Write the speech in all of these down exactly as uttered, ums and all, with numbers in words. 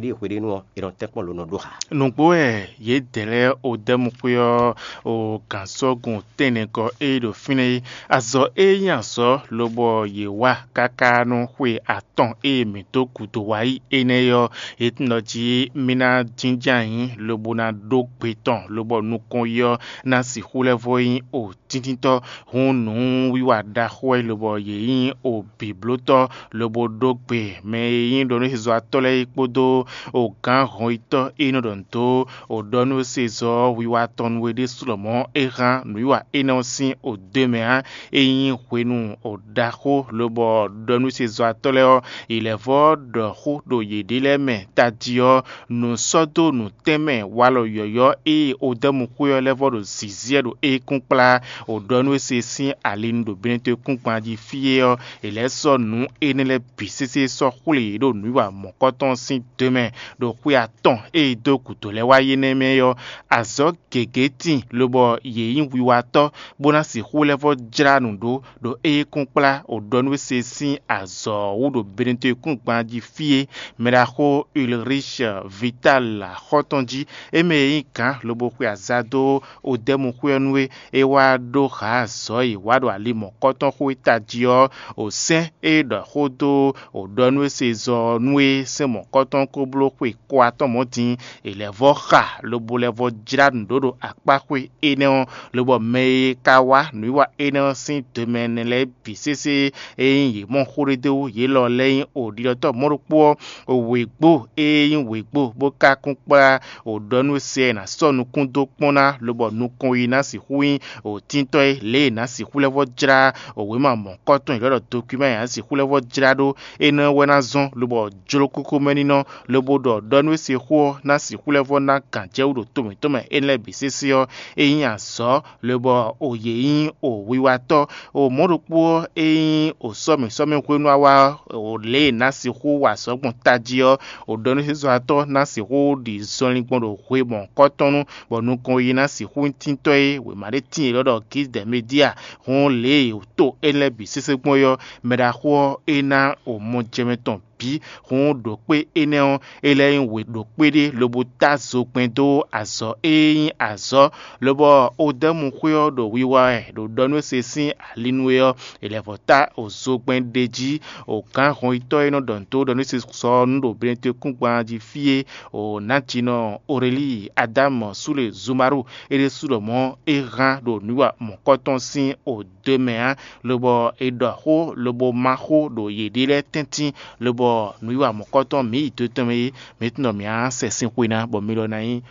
Ɖíe hweɖénu ɔ́, è nɔ tɛ́nkpɔ́n lǒ nɔ ɖó xá. Nǔgbó wɛ yědɛɛ lɛ́ɛ Odɛ́mu xwé ɔ́ o gǎnsɔ́gun tɛ́nnɛgɔ́ e ɖo fínɛ́ é. Azɔ̌ e nyí azɔ̌ lobɔ yě wa káká nú xwe atɔn e mǐ dó gǔdo wá yi énɛ́ ɔ́, é tunwun ɖɔ jí mì ná jínjɔ́n ayǐ lobo ná ɖó gbe tɔn, lobɔ nukɔn yi ɔ́ ná sixú lɛ́ vɔ́ nyí o tíntítɔ́. Hǔn nǔwiwa ɖaxó wɛ lobɔ yě nyí o bǐblótɔ́, lobo ɖó gbe mɛ e nyí ɖɔnúhezɔ́watɔ́ lɛ́ɛ é kpódó o gǎn hɔnyitɔ́ e nɔ ɖɔ nǔ dó o ɖɔ nú sezɔ́ wiwa tɔn nú we ɖésú lɔmɔ̌ é hán nǔwiwa énɛ́ ɔ́ sín o dó mɛ ǎ. É nyí hwenu o ɖaxó lobɔ ɖɔ nú sezɔ́watɔ́ lɛ́ɛ ɔ́, è lɛ̌ vɔ́ ɖɔ xó ɖo yěɖée lɛ́ɛ mɛ tají ɔ́, nǔ sɔ́ dó nǔtɛ́nmɛ walɔ yɔ̌yɔ́ e Odɛ́mu xwé ɔ́ lɛ́ vɔ́ ɖo zǐnzíɛ ɖo ékún kplá o ɖɔ nú é se sín ali nu ɖo Benetɔ́-kúngban jí fí é ɔ́, è lɛ̌ sɔ́ nǔ énɛ́ lɛ́ɛ bǐ sésé sɔ́ xwlé yě ɖo nǔwiwa mɔ̌kɔtɔn sín do mɛ ɖo xwe atɔn e è dó gǔdo lɛ́ɛ wá yi énɛ́ mɛ ɔ́. Azɔ̌ gěgé tíin lobɔ yě nyí wiwatɔ́, bó ná sixú lɛ́ vɔ́ jlá nǔ ɖó ɖo éyɛ́kúnkplá ɖo ɖɔ nú é se sín azɔ̌ ɔ́ wú ɖo Benetɔ́-kúngban jí fí é. Mɛɖaxó Ulrich Vital xɔ́ntɔn jí, é mɛ e nyí gǎn lobo xwe aza dó Odɛ́mu xwé ɔ́ nú é, é wá ɖó hǎ azɔ̌ e è wa ɖo ali mɔ̌kɔtɔn xó e tají ɔ́, o sɛ́n e ɖɔ xó dó o ɖɔ nú é se zɔ ɔ́ nú é, sɛ́n mɔ̌kɔtɔn ko bló xwe ko atɔn mɔ̌ din, è lɛ̌ vɔ́ xa lobo lɛ́ vɔ́ jlá nǔ ɖó ɖo akpá xwé énɛ́ ɔ́, lobɔ mɛ e ka wá nǔwiwa énɛ́ ɔ́ sín do mɛ ɛnɛ lɛ́ɛ bǐ sésé e nyí yě mɔ xó ɖé dó wú yě lɔ lɛ́ɛ nyí o ɖiɖɔtɔ́ mɔ̌ ɖokpó ɔ́, wěgbó e nyí wěgbó bó ka kún kplá o ɖɔ nú se ɔ́ è nǎ sɔ́ nukún dó kpɔ́n ná, lobɔ nukɔn yi ná sixú nyí o tíntɔ́ é, lě e è nǎ sixú lɛ́ vɔ́ jlá o wěma mɔ̌kɔtɔn yěɖɔ́ ɖɔ dokwíma e è nǎ sixú lɛ́ vɔ́ jlá ɖó énɛ́ wɛ ná zɔ́n, lobɔ jló kókó mɛ ní nɔ, lobo ɖɔ ɖɔ nú é se xó ɔ́ ná sixú lɛ́ vɔ́ ná gǎnjɛwú ɖo to mǐtɔn mɛ énɛ́ lɛ́ɛ bǐ sésé ɔ́, é nyí azɔ̌, lobɔ o yě nyí o wiwatɔ́. O mɔ̌ ɖokpó ɔ́, é nyí o sɔ́mǐ sɔ́mǐ hwenu awa ɔ́, o lě e è nǎ sixú wa azɔ̌ gbɔn tají ɔ́, o ɖɔ nú sɛ́nzɔ́watɔ́ ná sixú ɖi zɔnlin gbɔn ɖo hwe mɔ̌hunkɔtɔn nu, bɔ nukɔn yi ná sixú nyí tíntɔ́ e wěma ɖé tíin è nɔ ɖɔ Gízidɛ̌medía. Hǔn lě e o to énɛ́ lɛ́ɛ bǐ sésé gbɔn é ɔ́, mɛɖaxó ɔ́, é ná o mɔjɛmɛ tɔn bǐ. Hǔn ɖo kpé énɛ́ ɔ́, é lɛ́ nyí wě ɖo kpéɖé lobo tá zogbɛ́n dó azɔ̌ e nyí azɔ̌, lobɔ Odɛ́mu xwé ɔ́ ɖo wiwa wɛ ɖo ɖɔ nú é se sín ali nú é ɔ́, è lɛ̌ vɔ́ tá o zogbɛ́n ɖ'é jí. O gǎn hɔnyitɔ́ e nɔ ɖɔ nǔ dó ɖɔ nú é se sɔ ɔ́ nú ɖo Benetɔ́-kúngban jí fí é, o nǎjínɔ Orelíi Adámu Súle Zumaru é ɖésú ɖɔ mɔ̌ é hán ɖo nǔwiwa mɔ̌kɔtɔn sín o do mɛ ǎ, lobɔ è ɖɔ xó lobo má xó ɖo yěɖée lɛ́ɛ tɛ́ntin, lobɔ nǔwiwa mɔ̌kɔtɔn mǐ yi do tɔn mɛ é, mǐ tunwun ɖɔ mǐ á sɛ sín xwe ná, bɔ mi lɔ ná nyí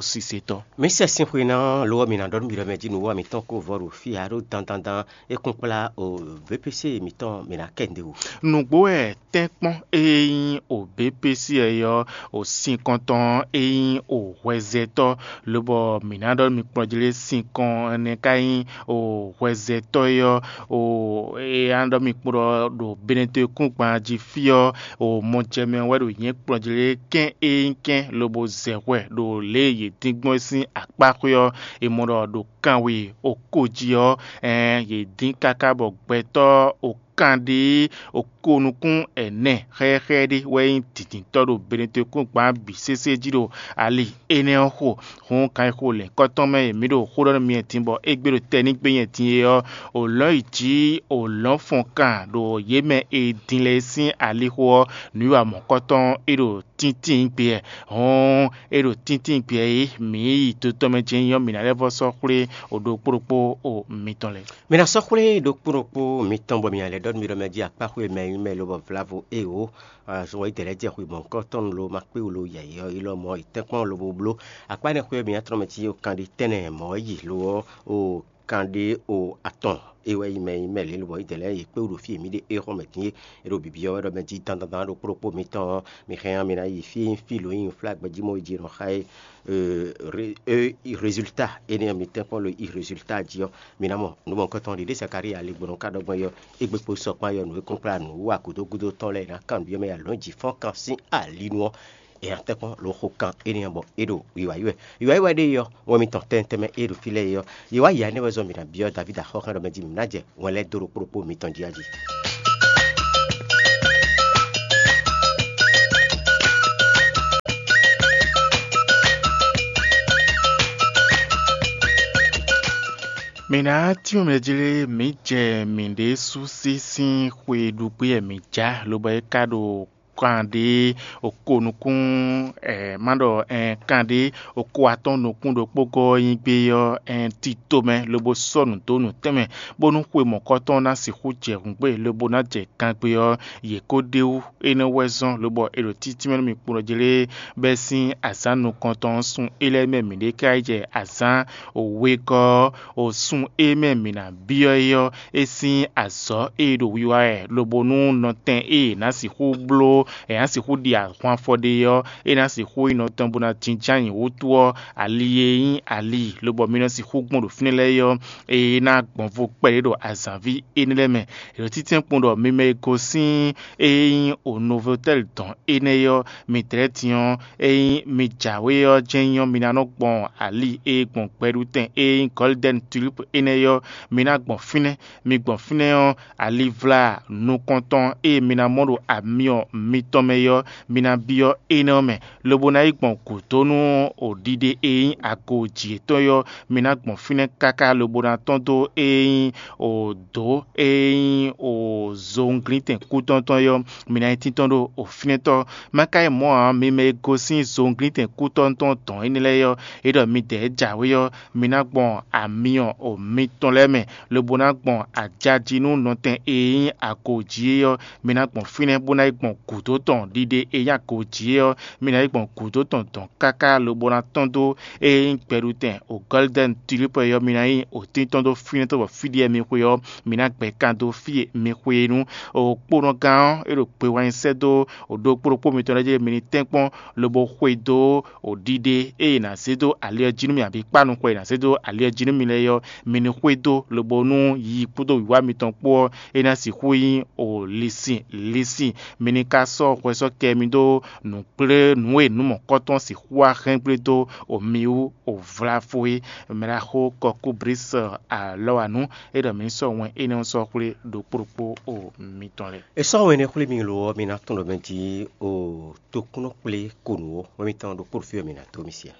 sisetɔ́. Mǐ sɛ sín xwe ná ɔ́, lo ɔ́, mǐ ná ɖɔ nú mi ɖɔ mɛ jí nǔwiwa mǐtɔn ko vɔ ɖo fí ǎ ɖó dandandan é kún kplá o V P C mǐtɔn mǐ ná kɛ nǔɖé wú. Nǔgbó wɛ tɛ́nkpɔ́n e nyí o B P C ɔ́, o sinkɔntɔn e nyí o hwɛzɛtɔ́, lobɔ mǐ ná ɖɔ mi kplɔ́n jí lé sinkɔn ɛnɛ ka nyí o hwɛzɛtɔ́ é ɔ́, o e ná ɖɔ mi kplɔ́n ɖo Benetɔ́-kúngban jí fí ɔ́, o mɔ jɛ mɛ wɛ ɖo nyɛ̌ kplɔ́n jí lé kɛ́n e nyí kɛ́n lobo zɛ hwɛ ɖo lě e yě dín gbɔn é sín akpá xwé ɔ́, è mɔ ɖɔ ɖo kanwe o ko jí ɔ́, ɛɛn yě dín káká bɔ gbɛtɔ́ o kanɖé o ko nukún ɛnɛ xɛxɛ ɖé wɛ nyí dǐndíntɔ́ ɖo Benetɔ́-kúngban bǐ sésé jí ɖo ali énɛ́ ɔ́ xo. Hǔn kan e xo lɛ̌nkɔ́tɔn mɛ e mǐ ɖo xó ɖɔ nú mi din bɔ égbé ɖo tɛnígbe nyɛ din é ɔ́, o lɔ̌n yi jǐ o lɔ̌n fɔn kan ɖo yě mɛ e din lɛ́ɛ sín alixo ɔ́, nǔwiwa mɔ̌kɔtɔn é ɖo tíntín gbé wɛ. Hɔn é ɖo tíntín gbé wɛ é, mǐ yi to tɔn mɛ jɛ́n nyí ɔ́, mǐ ná lɛ́ vɔ́ sɔ́ xwlé o ɖokpó ɖokpó o mitɔn lɛ́ɛ. Mi ná sɔ́ xwlé ɖokpó ɖokpó mitɔn bɔ mi ná lɛ́ ɖɔ nú mi ɖɔ mɛ jí akpá xwé mɛ nyí mɛ lobɔ vlavo éwo azɔn yi dɛ̌ lɛ́ jɛ xwé mɔ̌hunkɔtɔn lo ma kpé wú lo yɛ̌yɛ́ ɔ́ yi lɔ mɔ̌ yi tɛ́nkpɔ́n lobo bló akpá énɛ́ xwé ɔ́ mi ná tlɔ́n mɛ cí o kanɖi tɛ́nnɛ mɔ̌ yi lo ɔ́ o kanɖé o atɔn é wɛ nyí mɛ nyí mɛ lě lobɔ yi dɛ̌ lɛ́ yě kpé wú ɖo fí e mǐ ɖe é xɔ́n mɛ dín é. É ɖo bǐbí ɔ́ wɛ ɖɔ mɛ jí dandandan ɖokpó ɖokpó mitɔn ɔ́, mi hɛn ɔ́ mi ná yi fí e nyí fí lo nyí flá gbɛjí mɔ yi jí nɔ xa é. Résultat énɛ́ ɔ́ mi tɛ́nkpɔ́n lo yi résultat jí ɔ́, mi ná mɔ nǔ mɔ̌hunkɔtɔn ɖiɖe Zakalía ali gbɔn nɔ ka ɖɔ gbɔn é ɔ́, égbé kpó sɔkpán é ɔ́, nǔ e kún kplá nǔ wa gǔdo gúdo tɔn lɛ́ɛ è nǎ kan nǔ byɔ́ mɛ yi alɔ̌ jí fɔ́n kan sín ali nu ɔ́, è nǎ tɛ́nkpɔ́n lo xo kan énɛ́ ɔ́ bɔ é ɖo wiwa yi wɛ. Wiwa yi wɛ ɖe é ɔ́, wɛn mitɔn tɛntɛn mɛ é ɖo fí lɛ́ɛ é ɔ́, yě wá yǎ énɛ́ wɛ zɔn mǐ ná byɔ́ Davídi axɔ́ xá ɖɔ mɛ jí mǐ ná jɛ wɛn lɛ́ɛ dó ɖokpó ɖokpó mitɔn jí a jí. Mǐ ná tínmɛ mɛ jlé mǐ jɛ mǐɖée sú sí sín xwe ɖu gbé wɛ mǐ ja, lobɔ é ka ɖo kan ɖé oko nukún, ɛ, má ɖɔ, ɛ, kan ɖé oko atɔ́ɔ́n nukún ɖokpó gɔ́ ɔ́ nyi gbé ɔ́, ɛ, tito mɛ, lobo sɔ́ nǔ dó nǔtɛn mɛ, bónú xwe mɔ̌kɔtɔn ná sixú jɛ hǔngbe, lobo ná jɛ kangbé ɔ́, yě ko ɖ'é wú. Énɛ́ wɛ zɔ́n, lobɔ è ɖo títí mɛ nú mì kpɔ́n jlé bɛ́ sín azǎn nukɔntɔn ɔ́ sun é lɛ́ɛ mɛ mǐɖée ká yi jɛ azǎn wegɔ́ ɔ́, o sun e mɛ mǐ ná byɔ́ é ɔ́, é sín azɔ̌ e ɖo wiwa wɛ, lobo nú nɔtɛn e è nǎ sixú bló, è nǎ sixú ɖi ahwan afɔ ɖe ɔ́, é ná sixú nyí nɔtɔn bó ná jínjɔ́n ayǐ wútu ɔ́, ali e nyí ali, lobɔ mi nɔ sixú gbɔn ɖo fínɛ́ lɛ́ɛ é ɔ́, é ná gbɔn vo kpɛɖé ɖo azǎnví énɛ́ lɛ́ɛ mɛ. È ɖo títɛ́n kpɔ́n ɖɔ mi mɛ e gosín e nyí o Novotɛ́li dɔn énɛ́ é ɔ́, mi dlɛ̌ din ɔ́, ényí mi jǎwe ɔ́ jɛ́n nyí ɔ́, mi ná nɔ gbɔn ali e gbɔn gbɛɖutɛn e nyí Gɔ́lidɛ́ni Tulípu énɛ́ é ɔ́, mi ná gbɔn fínɛ́. Mi gbɔn fínɛ́ ɔ́, alivla nukɔntɔn e mi ná mɔ ɖo amyɔ mitɔn mɛ é ɔ́, mi ná byɔ́ énɛ́ ɔ́ mɛ, lobo ná yi gbɔn gǔdo nú ɖiɖe e nyí ago jǐ yětɔn é ɔ́, mi ná gbɔn fínɛ́ káká lobo ná tɔ́n dó e nyí dǒ e nyí zowunglíntɛn kútɔ́ntɔn é ɔ́, mi ná nyí tíntɔ́n ɖo fínɛ́tɔ́. Má ka yi mɔ̌ ǎ, mi mɛ e gosín zowunglíntɛn kútɔ́ntɔn dɔ̌n énɛ́ lɛ́ɛ é ɔ́, é ɖɔ midɛɛ jǎwe ɔ́, mi ná gbɔn amyɔ mitɔn lɛ́ɛ mɛ, lobo ná gbɔn ajají nú nɔtɛn e nyí ago jí é ɔ́, mi ná gbɔn fínɛ́ bó ná yi gbɔn gǔdo tɔn ɖiɖe e nyí ago jí é ɔ́, mi ná yi gbɔn gǔdo tɔn dɔn káká lobo ná tɔ́n dó e nyí gbɛɖutɛn o Gɔ́lidɛ́ni Tulípu é ɔ́, mi ná nyí o tíntɔ́n dó fínɛ́ tɔn bɔ fí ɖíe mi xwe ɔ́, mi ná gbɛ kan dó fí e mi xwe é nú. Kpónɔgán ɔ́, é ɖo gbe wá nyi sɛ́ dó ɖokpó ɖokpó mitɔn lɛ́ɛ jí mi ní tɛ́nkpɔ́n lobo xwedó ɖiɖe e è nǎ zé dó ali ɔ́ jí nú mì, abǐ kpá nukɔn e è nǎ zé dó ali ɔ́ jí nú mi lɛ́ɛ é ɔ́, mi ní xwedó, lobo nú yiyi kpódó wǐwá mitɔn kpó ɔ́, é ná sixú nyí o lisin lisin. Mi ní ka sɔ́ hwɛ sɔ́ kɛ mi dó nǔkplé nǔ e nǔ mɔ̌kɔtɔn sixú wá hɛn gblé dó o mi wú o vláfó é. Mɛ ɖaxó Kɔkúbris alɔ wa nǔ, é ɖɔ mi ní sɔ́ wɛn énɛ́ ɔ́ sɔ́ xwlé ɖokpó ɖokpó o mitɔn lɛ́ɛ. È sɔ́ wɛn énɛ́ xwlé mi lo ɔ́, mi ná tɔ́n ɖɔ mɛ jí o tokúnɔ kplé ko nǔ ó, wɛ mitɔn ɖokpó ɖo fí wɛ mi ná dó mi sia.